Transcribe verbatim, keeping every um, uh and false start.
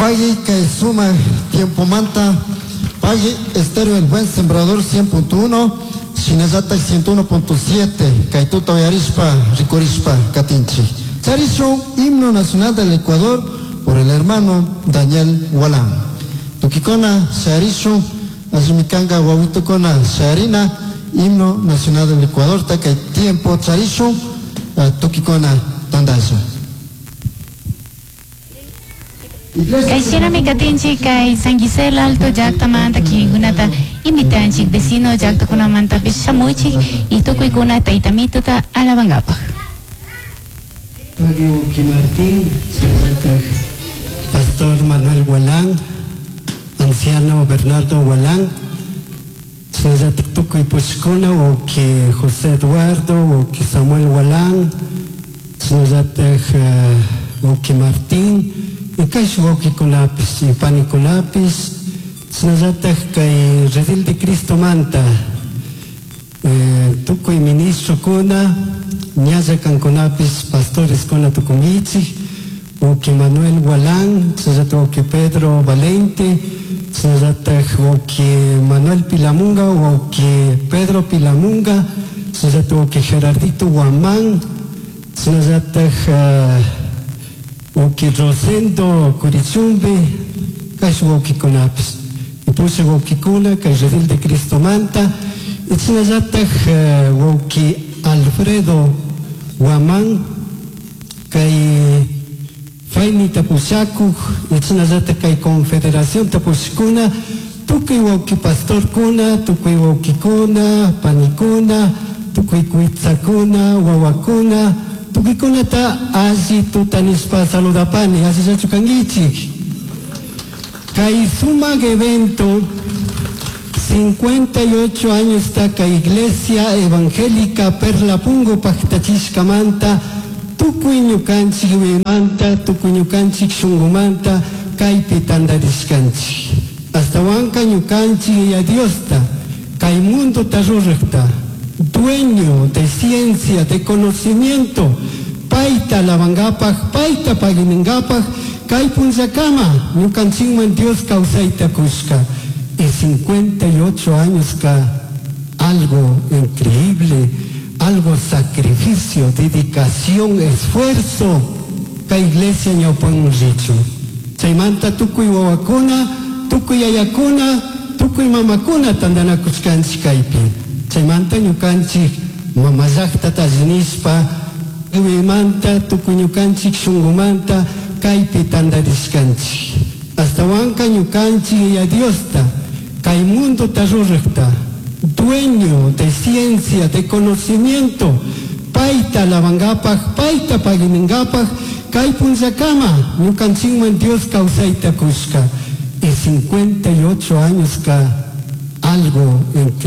Pagui kay sumak tiempomanta Pagui Estéreo El Buen Sembrador cien punto uno, shinallatak ciento uno punto siete, kay tuta uyarishpa, rikurishpa katinchik. Charishun himno nacional del Ecuador por el hermano Daniel Gualán. Tukikuna sharishun, allimikanka wawitukuna sharina, himno nacional del Ecuador, kay tiempo charishun, eh, tukikuna tandasha. Kay shinami katinchik kay San Gisela Alto llaktamanta kikinkunata invitanchik vecino llaktakunamantapish shamuchik y tukuykuna taytamituta alabankapaj. Antonio Martín, Pastor Manuel Gualán, Anciano Bernardo Gualán, Shinallatak tukuy pushkuna, wawki José Eduardo, wawki Samuel Gualán, shinallatak, eh, wawki Martín, y kay wawkikunapish, y panikunapish, shinallatak kay Redil de Cristo manta, eh, tukuy ministrokuna, ñalla kankunapish, pastores kuna tukunkichik, wawki Manuel Gualán, shinallatak wawki Pedro Valente, shinallatak wawki Manuel Pilamunga, wawki Pedro Pilamunga, shinallatak wawki Gerardito Guamán, shinallatak, eh, wawki Rosendo Curichumbe, kay wawkikunapish. Y pusha wawkikuna kay Redil de Cristo manta, y shinallatak, eh, wawki Alfredo Guamán, kay Fayni tapushakuj, y shinallatak kay Confederación tapushkuna, tukuy wawki pastorkuna, tukuy wawkikuna, panikuna, tukuy kuitsakuna, wawakuna, tukuykunata alli tutanishpa saludapani, allillachu kankichik. Kay sumak evento, cincuenta y ocho años ta kay Iglesia Evangélica Perla Pungo paktachishkamanta, tukuy ñukanchik wimanta, tukuy ñukanchik shungumanta, kaypi tantarishkanchik. Astawanka ñukanchik ya Diosta, kay mundo tarurrakta, dueño de ciencia, de conocimiento, paita lavangapak, paita paginingapak, kay punllakama, ñukanchikman Dios kawsayta kushka. Y cincuenta y ocho años ka algo increíble, algo sacrificio, dedicación, esfuerzo, ka iglesia ñawpan richu. Chaymanta tukuy wawakuna, tukuy yayakuna, tukuy mamakuna tantanakushkanchik kaypi. Chaymanta ñukanchik mamallaqtata allinishpa, tukuymanta, tukuy ñukanchik shungumanta kaypi tantarishkanchik. Astawanka ñukanchik ya Diosta, kay mundo tarurrakta, dueño de ciencia, de conocimiento, paita lavangapak, paita paginingapak, kay punllakama, ñukanchikman Dios kawsayta kushka. Y cincuenta y ocho años ka algo increíble.